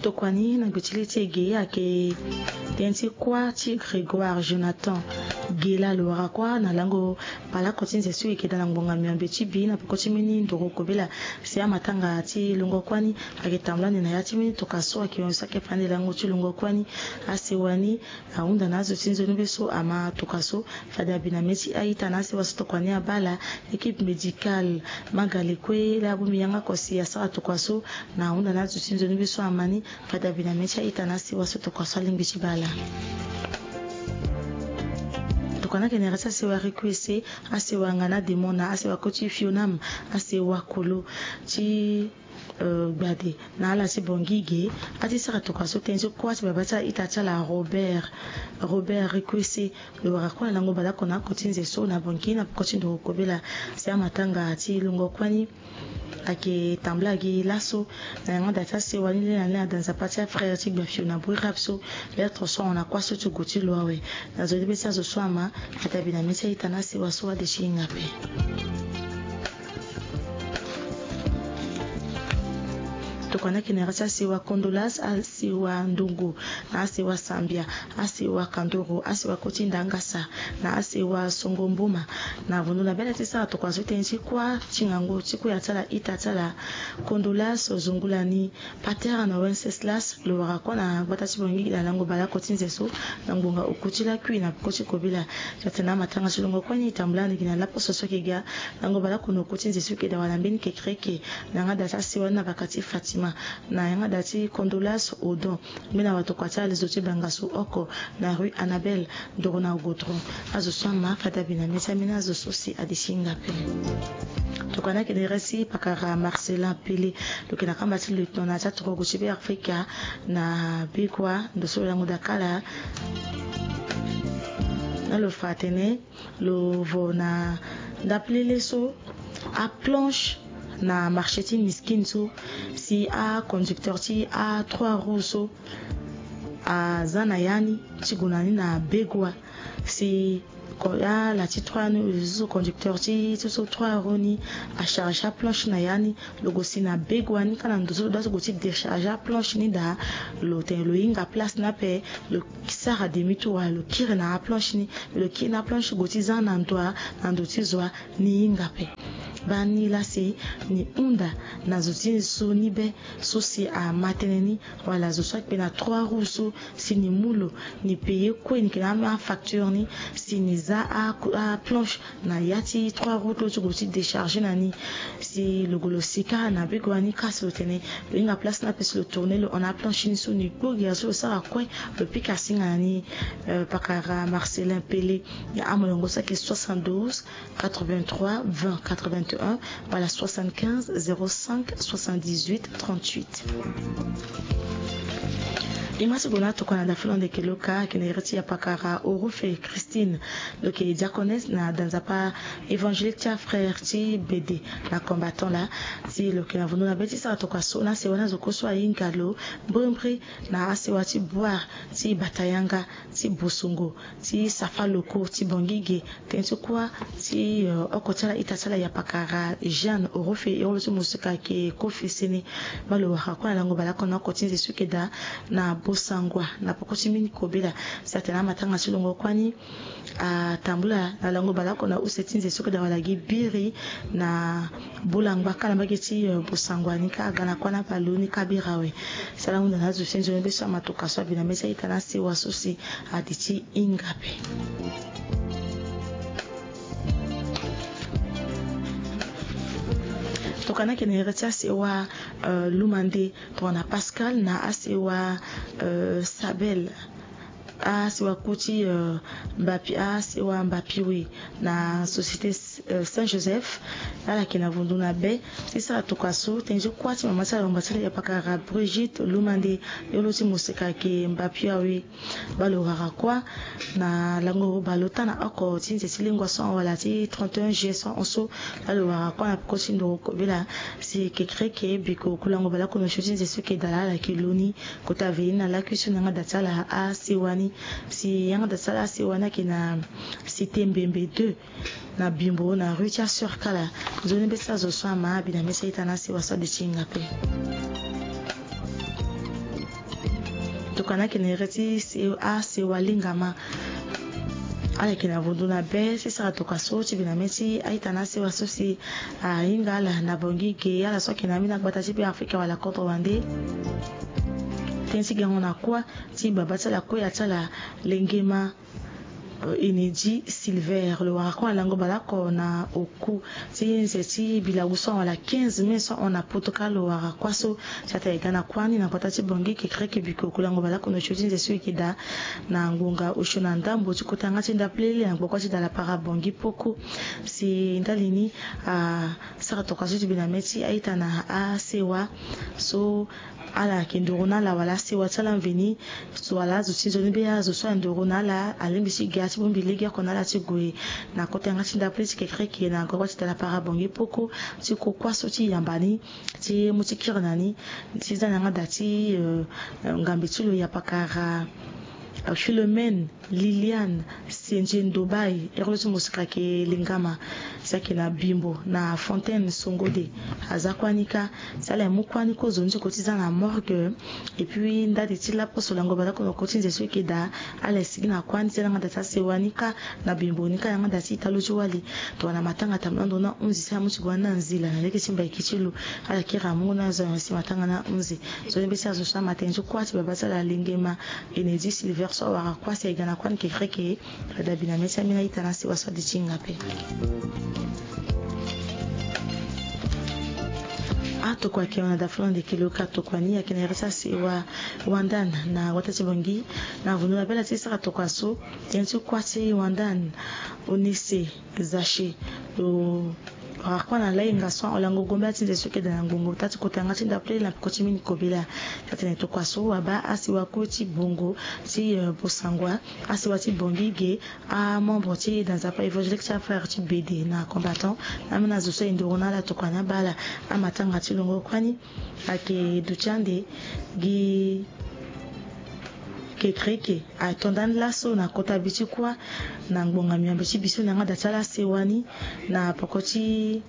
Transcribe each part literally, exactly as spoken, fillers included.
Tokua ni na gbe ti le ti e ge ayeke tënë ti kuâ ti Grégoire Jonathan Gela, lo wara kuâ na lango baleoko ti nze so e yeke daa na ngbonga miombe ti bi na peko ti mbeni ndoro kobela. Si amatanga ti longo kuâ ni ayeke tambula ande na ya ti mbeni tokua so ayeke hon so ayeke fa ande lango ti longo kuâ ni. Asewa ni ahunda na azo ti nzoni be so ama tokua so. Fade abi na mê ti a-ita na asewa so tokua ni abaa laa, équipe médicale Magale kue laa abongbi yanga oko si asara tokua so. Na ahunda na azo ti nzoni be so ama ni, fade abi na mê ti a-ita na asewa so tokua so alingbi ti baa laa. Tokua ni ayeke na ere ti asewa Requesé, asewa Ngana Demon na asewa kue ti Fionam, asewa kolo ti eh, gbade na ala ti Bangui ge. A ti sara tokua so tënë ti kuâ ti babâ ti a-ita ti ala Robert, Robert Requesé, lo wara kuâ na lango baleoko na oko ti nze so na Bangui na peko ti ndoro kobela. Si amatanga ti longo kuâ ni ayeke tambula gi laso. Na yanga daa ti asewa ni le na le na danzapa ti afrère ti Gbafio na Bouirab so. Lettre so ahon na kuâ so ti gue ti lo awe. Na nzoni be ti azo so ama, fade abi na mê ti a-ita na asewa so ade ti hinga ape. Tokua ni ayeke na ere ti asewa Kondolas, asewa Ndongo, na asewa Sambia, asewa Kandoro, asewa kue ti Ndangasa, na asewa Songo Mboma. Na avundu na bê ti sara tokua so tënë ti kuâ ti ngangu ti kuya ti ala ita ti ala Kondolas Zungula ni, Paterne Wenceslas, lo wara kuâ na gbata ti Bangui na lango baleoko ti nze so na ngbonga oku ti lakui na peko ti kobela. Ti atene amatanga ti longo kuâ ni e tambula ande gi na laposo so ayeke ga lango baleoko na oku ti nze so ayeke daa wala mbeni kekereke. Na yanga daa ti asewa ni na baka ti Fatima, na yanga daa ti Kondolas Odon, mbeni awatokua ti alezo ti Bangassou oko, na rue Annabelle, ndoro na Godron. Azo so ama, fade abi na mê ti ambeni azo so si ade ti hinga ape. Tokua ni ayeke na ere ti pakara Marcelin Pele, lo yeke na kamba ti lieutenant na ya ti atorogo ti Beafrika na Begoua, ndo so lo lango daa kâ laa. Na lo fa atene lo vo na ndapelele so aplanche na marché ti Miskine so, si aconducteur ti atrois roues so aza na ya ni ti gue na ni na Begoua. Si ko-, ala ti trois ni, zo conducteur ti so, so trois roues ni acharge aplanche na ya ni, lo gue si na Begoua ni kâ na ndo so lo dua so gue ti décharge aplanche ni daa, lo tene lo hinga place ni ape, lo sara demi tour, lo kiri na aplanche ni. Lo kiri na aplanche gue ti za na ndo, na ndo ti zo, ni hinga ape. Baa ni laa si ni hunda na zo ti so ni be so si ama tënë ni, wala zo so ayeke na trois roues so, si ni mu lo, ni payer kue, ni yeke na afacture ni, si ni za a, aplanche na ya ti trois roues ti lo ti gue ti décharger na ni. Si lo gue lo si kâ na Begoua ni kâ, si lo tene lo hinga place ni ape, si lo tourner lo hon na aplanche ni so, ni kpo gi azo so lo sara kue, lo pika singa na ni. Eh, pakara Marcelin Pele, na amolongo so ayeke soixante-douze, quatre-vingt-trois, vingt, quatre-vingt-un, wala soixante-quinze, zéro cinq, soixante-dix-huit, trente-huit. E ma ti gue na tokua na dafolande, yeke lo kâ ayeke na ere ti yapakara Orofe Christine, lo yeke diaconesse na danzapa évangélique ti afrère ti Bede na Combattant laa. Si lo yeke na vundu na be ti sara tokua so na sewa ni, azo kue so ahinga lo, mbrimbri na asewa ti Bouar, ti Batayanga, ti Bosongo, ti Safaloko, ti Bangui ge, tënë ti kuâ ti, eh, oko ti ala ita ti ala yapakara Jeanne Orofe, e olo ti mosika ayeke Kofesene. Baa lo wara kuâ na lango baleoko na oko ti nze so ayeke daa na Bossangoa na peko ti mbeni kobela. Si atene amatanga ti longo kuâ ni atambula na lango baleoko na use ti nze so ayeke daa wala gi biri na Bolangba kâ na mbage ti, eh, Bossangoa ni kâ aga na kuâ na baleoni kâ biri awe. Si ala hunda na azo ti nzoni be so ama tokua so abi na mê ti a-ita na asewa so si ade ti hinga ape. Tokua ni ayeke na ere ti asewa, eh, Lumande, tongana Pascal na asewa, eh, Sabel. Asewa kue ti, eh, Mbapi, asewa Mbapi we na société, eh, Saint Joseph. Ala yeke na vundu na be ti sara tokua so tënë ti kuâ ti mama ti ala, longba ti ala yapakara Brigitte Lumande, e olo ti mosika ayeke Mbapi awe. Baa lo wara kuâ na lango baleota na oko ti nze ti lengua so ahon wala ti trente et un juillet so ahon so. Baa lo wara kuâ na peko ti ndoro kobela si kekereke biko kulango baleoko na osio ti nze so ayeke daa laa, ala yeke lo ni. Kota ve ni na lakui so na yanga da ti ala asewa ni. Si yanga da ti ala asewa ni ayeke na Cité Mbembe deux, na Bimbo, na rue ti Assurkala. Nzoni be ti azo so ama abi na mê ti a-ita na asewa so ade ti hinga ape. Kana yeke na ere ti asewa lingama. Ala yeke na vundu na be ti sara tokua so ti bi na mê ti a-ita na asewa so si ahinga ala na Bangui ge. Ala so ayeke na ambeni agbata ti Be Afrika wala kodro wande. Tënë ti gango na kuâ ti babâ ti ala, kuâ ti ala, lengema Enedi Silver, lo wara kuâ na lango baleoko na oku ti nze ti bilagu so ahon wala quinze mai so ahon na poto kâ. Lo wara kuâ so si atene e ga na kuâ ni na gbata ti Bangui, kekereke biko oku lango baleoko na osio ti nze so e yeke daa na ngonga osio na ndambo ti kota yanga ti ndapelele na gbakua ti Dalapara Bangui Poko. Si ndali ni asara tokua so ti bi na mê ti a-ita na asewa so ala yeke nduru na ala wala asewa ti ala mveni. So wala azo ti nzoni be azo so anduru na ala alingbi ti ga ti bongbi legeoko na ala ti gue na kota yanga ti ndapelele ti kekereke na gbakua ti Dalapara Bangui Poko ti ko kuâ so ti yamba ni ti mu ti kiri na ni ti za na yanga daa ti, euh, ngambe ti lo ya pakara, euh, Philomène Liliane Sendje Ndobaye, ere lo ti mosika ayeke Lingama, si ayeke na Bimbo na Fontaine Songode. Aza kuâ ni kâ, si ala ye mu kuâ ni kozoni ti ko ti za na morgue. Et puis ndali ti laposo lango baleoko na oko ti nze so e yeke daa, ala ye sigi na kuâ ni ti za na yanga daa ti asewa ni kâ na Bimbo ni kâ na yanga daa ti ita lo ti wali. Tongana matanga tambula ndo na hunzi si amu ti gue na nzila na lege ti mbaiki ti lo. Ala kiri amungo na azo na si matanga na hunzi. Nzoni be ti azo so ama tënë ti kuâ ti babâ ti ala lengema Enedi Silver so awara kuâ si aye ga na kuâ ni kekereke. Fade abi na mê ti ambeni a-ita na asewa so adi ti hinga ape. Atokua ayeke hon na dafolande kilo ka tokua ni ayeke na ere ti asewa Wandan na wata ti Bangui. Na vundu na be ala ti sara tokua so tënë ti kuâ ti Wandan Onese Zache. Lo wara kuâ na lahinga so ahon lango gombela ti nze so e yeke daa na ngongo ota ti kota yanga ti ndapelele na peko ti mini kobela. Ti atene tokua so abaa asewa kue ti Bongo ti, euh, Bossangoa, asewa ti Bangui ge, amembre ti danzapa évangélique ti afrère ti Bédé na Combattant, na ambeni azo so aye nduru na ala tokua ni abaa ala. Amatanga ti longo kuâ ni ayeke duti ande gi kekereke ato ndani laso na kota bi ti kuâ na ngbonga miombe ti bi so na yanga daa ti ala asewa ni na poko ti,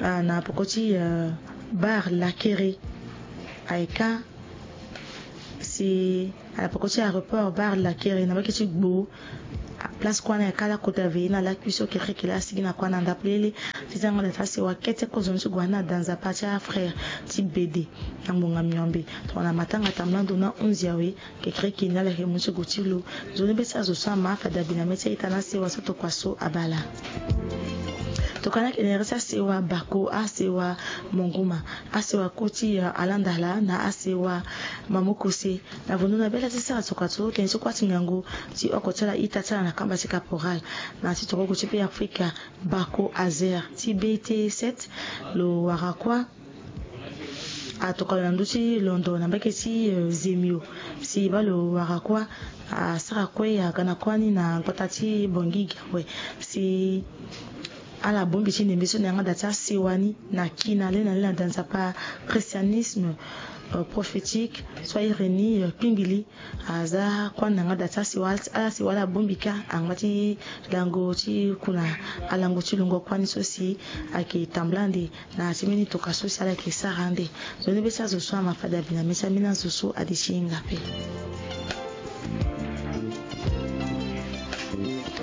ah, na poko ti, euh, Bar Lakere. Aye kâ si na poko ti aéroport Bar Lakere na mbage ti Gbo. Place kuâ ni aye kâ lakota veillée na lakui so kekereke laa asigi na kuâ na ndapelele ti za na yanga daa ti asewa kete kozoni ti gue na danzapa ti afrère ti Bédé na ngbonga miombe. Tongana matanga tambula ndo na hunzi awe, kekereke ni ala yeke mu ti gue ti lo. Nzoni be ti azo so ama fade abi na mê ti a-ita na asewa so tokua so abaa ala. Tokua ni ayeke na ere ti asewa Bako, asewa Monguma, asewa kue ti, euh, Alandala na asewa Mamokose. Na vundu na be ala ti sara tokua so tënë ti kuâ ti ngangu ti oko ti ala, ita ti ala na kamba ti caporal na ti torogo ti Be Afrika, Bako Azer ti B T sept. Lo wara kuâ atokua lo na ndö ti londo na mbage ti, euh, Zemio. Si baa lo wara kuâ asara kue aga na kuâ ni na gbata ti Bangui ge awe. Si ala bongbi ti ndembe so na yanga daa ti asewa ni na kina lê na lê na danzapa Christianisme, euh, prophétique so ahiri ni, euh, Kpingili. Aza kuâ ni na yanga daa ti asewa, ala sewa ala bongbi kâ angba ti lango ti ku na alango ti lungo kuâ ni so si ayeke tambula ande na ya ti mbeni tokua so si ala yeke sara ande. Nzoni be ti azo so ama fade abi na mê ti ambeni azo so adi ti hinga ape.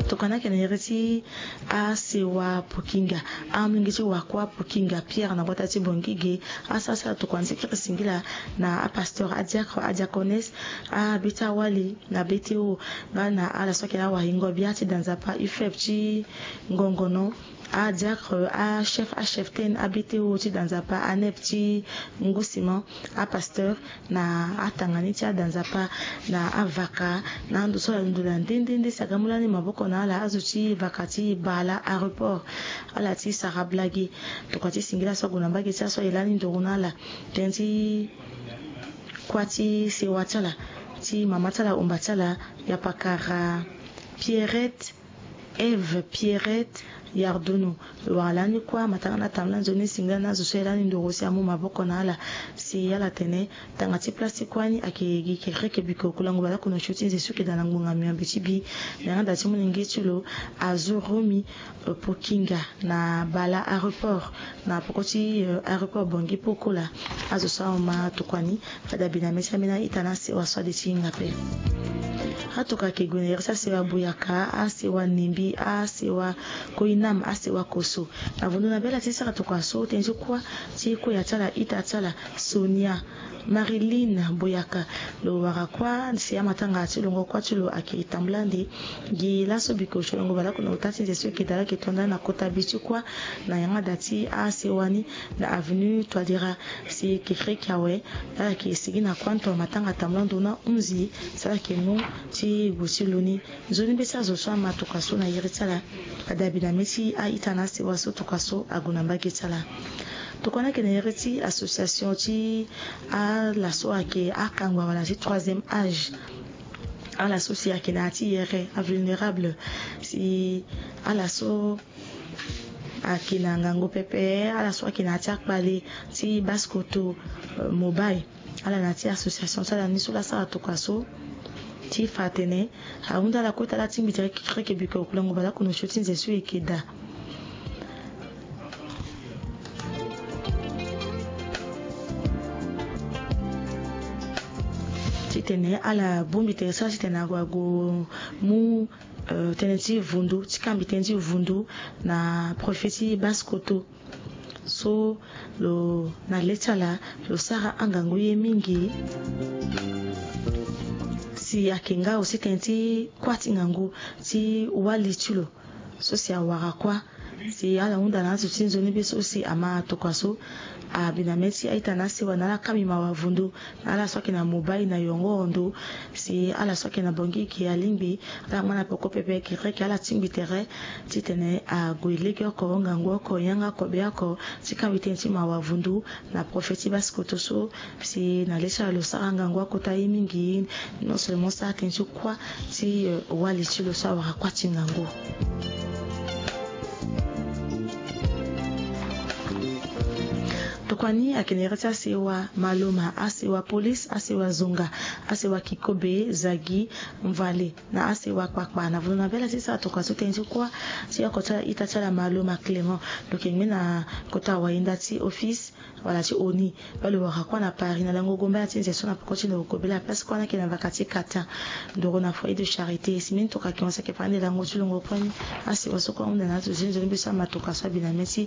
Tokua ni ayeke na ere ti asewa Pokinga, amolenge ti wakua Pokinga Pierre na gbata ti Bangui ge. Asara sara tokua ni ti kiri singila na apasteur, adiacre, adiaconesse, abê ti awali na B T O, nga na ala so ayeke na awahingo bia ti danzapa UFEP ti Ngongono, adiacre, achef, acheftaine, abê ti o ti danzapa ANEP ti Ngusima, apasteur, na atanga ni ti adanzapa, na avaka, na ando so ala londo na nde nde nde si aga mu lani maboko na ala, azo ti vaka ti bala aéroport, ala ti sara blagi. Tokua ti singila so ague na mbage ti aso aye lani nduru na ala. Tënë ti kuâ ti sewa ti ala ti mama ti ala, omba ti ala, ya pakara Pierrette Eve Pierrette Yardunu. Lo wara lani kuâ matanga na tambula nzoni singila na azo so aye lani ndoro si amu maboko na ala. Si ala tene tanga ti place ti kuâ ni ayeke gi kekereke biko kulango baleoko na osio ti nze so ayeke daa na ngbonga miombe ti bi. Na yanga daa ti molenge ti lo Azoromi Pokinga na bale aéroport na poko ti aéroport Bangui Pokola. Azo so ahon ma tokua ni fade abi na mê ti ambeni a-ita na asewa so ade ti hinga ape. Atokua ayeke gue na iri ti asewa Boyaka, asewa Nimbi, asewa Koinam, asewa Kosso. Na vundu na bê ala ti sara tokua so tënë ti kuâ ti koya ti ala, ita ti ala Sonia Marilyn Boyaka. Lo wara kuâ si amatanga ti longo kuâ ti lo ayeke tambula ande gi laso biko ti longo baleoko na ota ti nze so ayeke daa ayeke to ndani na kota bi ti kuâ na yanga daa ti asewa ni na avenue Touadéra. Si kekereke awe ala yeke sigi na kuâ ndo matanga tambula ndo na hunzi si ala yeke mu ti gue ti lo ni. Nzoni mbeti azo so ama tokua so na iri ti ala ade abi na mê ti a-ita na asewa so tokua so ague na mbage ti ala. Tokua ni ayeke na iri ti association ti ala so ayeke akangba wala ti troisième âge. Ala so si ayeke na ya ti yere, avulnérable. Si ala so ayeke na ngangu pepe, ala so ayeke na ya ti akpale ti basse koto, euh, mobile. Ala na ya ti association ti ala ni so laa asara tokua so ti fa atene ahunda ala kue ti ala tingbi tere kekereke biko kulango baleoko na osio ti nze so e yeke daa. Titene ala bongbi tere so ala titene ague ague mu, euh, tënë ti vundu, ti kangbi tënë ti vundu na prophète ti basse koto. So lo na le ti ala lo sara angangu ye mingi. Si ayeke nga aussi tënë ti kuâ ti ngangu ti wali ti lo. So si awara kuâ si ala hunda na azo ti nzoni be so si ama tokua so abi na mê ti a-ita na asewa na ala kangbi mawa vundu na ala so ayeke na mobile na yongo ndo. Si ala so ayeke na Bangui gi alingbi ala ngba na peko pepe kekereke ala tingbi tere titene ague legeoko, ngangu oko, yanga kobe oko ti kangbi tënë ti mawa vundu na prophète ti basse koto so. Si na le ti ala lo sara ngangu akota ye mingi, non seulement sara tënë ti kuâ ti, euh, wali ti lo so awara kuâ ti ngangu. Tokua ni ayeke na iri ti asewa Maloma, asewa Police, asewa Zonga, asewa Kikobe, Zagi, Mvale na asewa Kpakpa. Na vundu na bê ala ti sara tokua so tënë ti kuâ ti oko ti ala ita ti ala Maloma Clément. Lo yeke ngbe na kota wayenda ti office wala ti ONU. Baa lo wara kuâ na Paris na lango gombela ti nze so na peko ti lo kobela place kuâ ni ayeke na vaka ti Qatar. Ndoro na foyer de charité. Si mbeni tokua ayeke hon si ayeke fa ande lango ti longo kuâ ni. Asewa so kue ahunda na azo ti nzoni be so ama tokua so abi na mê ti